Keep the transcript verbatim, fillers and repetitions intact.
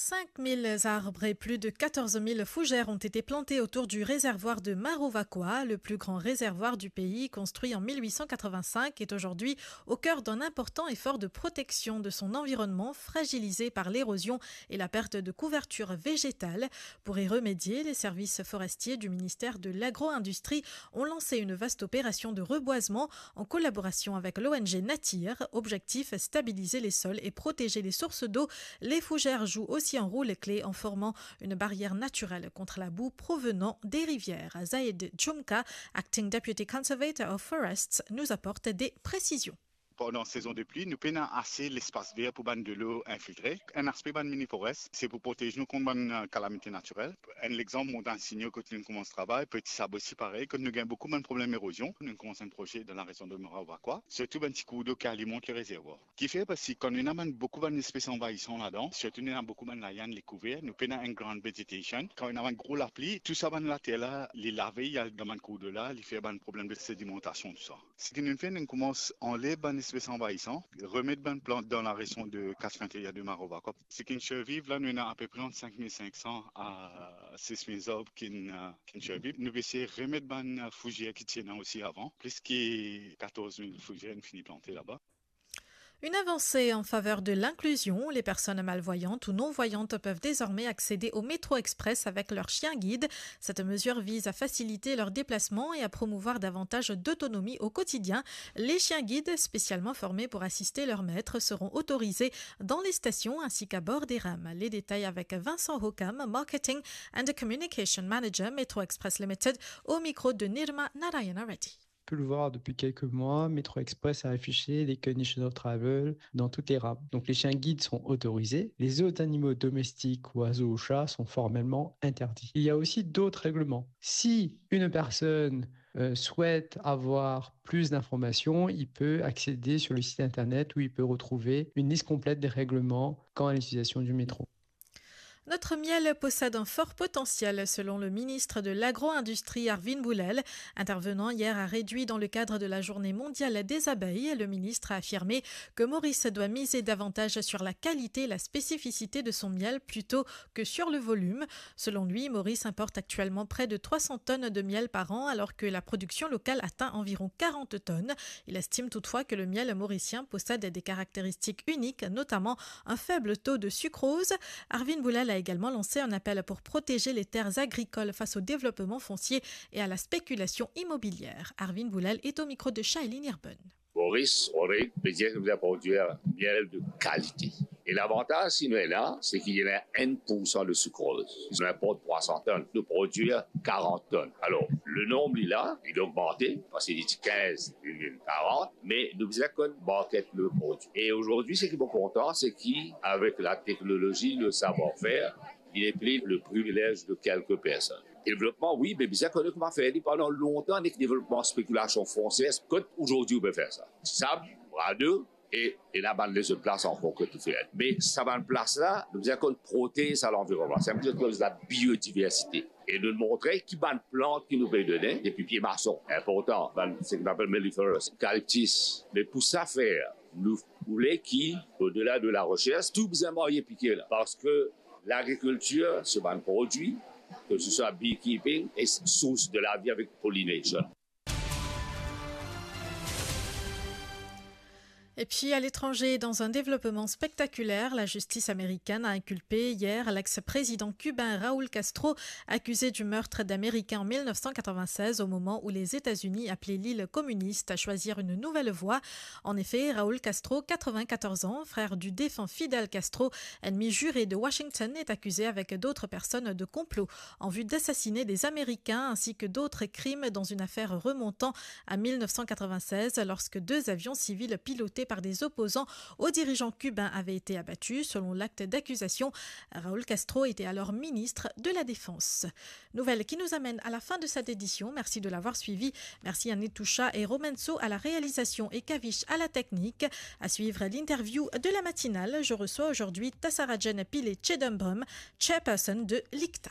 Cinq mille arbres et plus de quatorze mille fougères ont été plantés autour du réservoir de Marovakwa. Le plus grand réservoir du pays, construit en mille huit cent quatre-vingt-cinq, est aujourd'hui au cœur d'un important effort de protection de son environnement fragilisé par l'érosion et la perte de couverture végétale. Pour y remédier, les services forestiers du ministère de l'Agro-industrie ont lancé une vaste opération de reboisement en collaboration avec l'O N G Natir. Objectif, stabiliser les sols et protéger les sources d'eau. Les fougères jouent aussi un rôle clé en formant une barrière naturelle contre la boue provenant des rivières. Zaid Djoumka, Acting Deputy Conservator of Forests, nous apporte des précisions. Pandan sezon de pli, nou pena ase lespas ver pou bann delo infiltre. Enn aspe bann mini forest, se pou protez nou kont bann, eh, kalamite natirel. Enn lexanp, Montagn Signo, kot nou koumans travay, Petit Sab osi parey, kot nou gagn boukou bann problem erozion, nou koumans enn proze dan larezion de Maravakwa, sirtou bann ti kour dlo ki alimant le rezervwar. Kifer, parski kan nou ena bann, boukou bann espes anvayisan ladan, sirtou nou ena boukou bann layann, lekouver, nou pena enn gran vegetation. Kan ena bann gro lapli, tou sa bann later la, li lave, li al dan bann kour dlo la, li fer bann problem de sedimantasion, tou sa. Seki nou fer, nou koumans anlev bann espes anvayisan, remet bann plant dan larezion de kas frontier de Maravakwa. Seki finn sirviv la, nou ena apepre ant sink mil sink san a sis mil zarb ki finn, eh, ki finn sirviv. Nou pe esey remet bann, eh, fouzer ki ti ena osi avan, plis ki katorz mil fouzer nou fini plante laba. Une avancée en faveur de l'inclusion. Les personnes malvoyantes ou non-voyantes peuvent désormais accéder au métro express avec leur chien guide. Cette mesure vise à faciliter leur déplacement et à promouvoir davantage d'autonomie au quotidien. Les chiens guides spécialement formés pour assister leur maître seront autorisés dans les stations ainsi qu'à bord des rames. Les détails avec Vincent Hokam, Marketing and Communication Manager, Metro Express Limited, au micro de Nirma Narayana Reddy. Pu le voir depuis quelques mois, Metro Express a affiché les Conditions of Travel dans toutes les rames. Donc les chiens guides sont autorisés. Les autres animaux domestiques, oiseaux ou chats, sont formellement interdits. Il y a aussi d'autres règlements. Si une personne, euh, souhaite avoir plus d'informations, il peut accéder sur le site internet où il peut retrouver une liste complète des règlements quant à l'utilisation du métro. Notre miel possède un fort potentiel, selon le ministre de l'Agro-industrie Arvind Boolel. Intervenant hier à Réduit dans le cadre de la Journée mondiale des abeilles, le ministre a affirmé que Maurice doit miser davantage sur la qualité et la spécificité de son miel plutôt que sur le volume. Selon lui, Maurice importe actuellement près de trois cents tonnes de miel par an, alors que la production locale atteint environ quarante tonnes. Il estime toutefois que le miel mauricien possède des caractéristiques uniques, notamment un faible taux de sucrose. Arvind Boolel a également lancé un appel pour protéger les terres agricoles face au développement foncier et à la spéculation immobilière. Arvind Boolel est au micro de Shailene Irben. Maurice, on peut dire que nous produire miel de qualité. E lavantaz ki nou ena, se ki ena enn pour san de sucrose. Si nou inport trois cents tonnes, nou produir quarante tonnes. Alor, le nonb li la, li ogmante, parski li ti kinz, li vinn karant, me nou bizin konn market le produi. E azordi, seki mo kontan, se ki avek la teknolozi, le savoir-faire, il n'est plus le privilège de quelques personnes. Devlopman, wi, me bizin kone kouma fer li. Pandan lontan, nek devlopman spekilasion fonsier, kot azordi ou pe fer sa? Sab, Bras d'Eau, e, e ena bann lezot plas ankor kot ou fer. Me sa bann plas la, nou bizin konn protez sa lanvironman. Sa enn koze ki apel la biodiversite. E nou montre ki bann plant ki nou pe done, depi pie mason, inportan, bann, seki nou apel melliferous, eucalyptus. Me pou sa fer, nou oule ki, odela de la resers, tou bizin marye pike la. Parski lagrikiltir, se bann produi, ke se swa beekeeping, e sours de lavi avek pollination. Et puis à l'étranger, dans un développement spectaculaire, la justice américaine a inculpé hier l'ex-président cubain Raúl Castro, accusé du meurtre d'Américains en mille neuf cent quatre-vingt-seize, au moment où les États-Unis appelaient l'île communiste à choisir une nouvelle voie. En effet, Raúl Castro, quatre-vingt-quatorze ans, frère du défunt Fidel Castro, ennemi juré de Washington, est accusé avec d'autres personnes de complot en vue d'assassiner des Américains ainsi que d'autres crimes dans une affaire remontant à mille neuf cent quatre-vingt-seize, lorsque deux avions civils pilotés par des opposants aux dirigeants cubains avaient été abattus. Selon l'acte d'accusation, Raúl Castro était alors ministre de la Défense. Nouvelle qui nous amène à la fin de cette édition. Merci de l'avoir suivi. Merci à Netoucha et Romenso à la réalisation et Kavish à la technique. À suivre l'interview de la matinale. Je reçois aujourd'hui Tassarajan Pillay Chidambaram, chairperson de l'ICTA.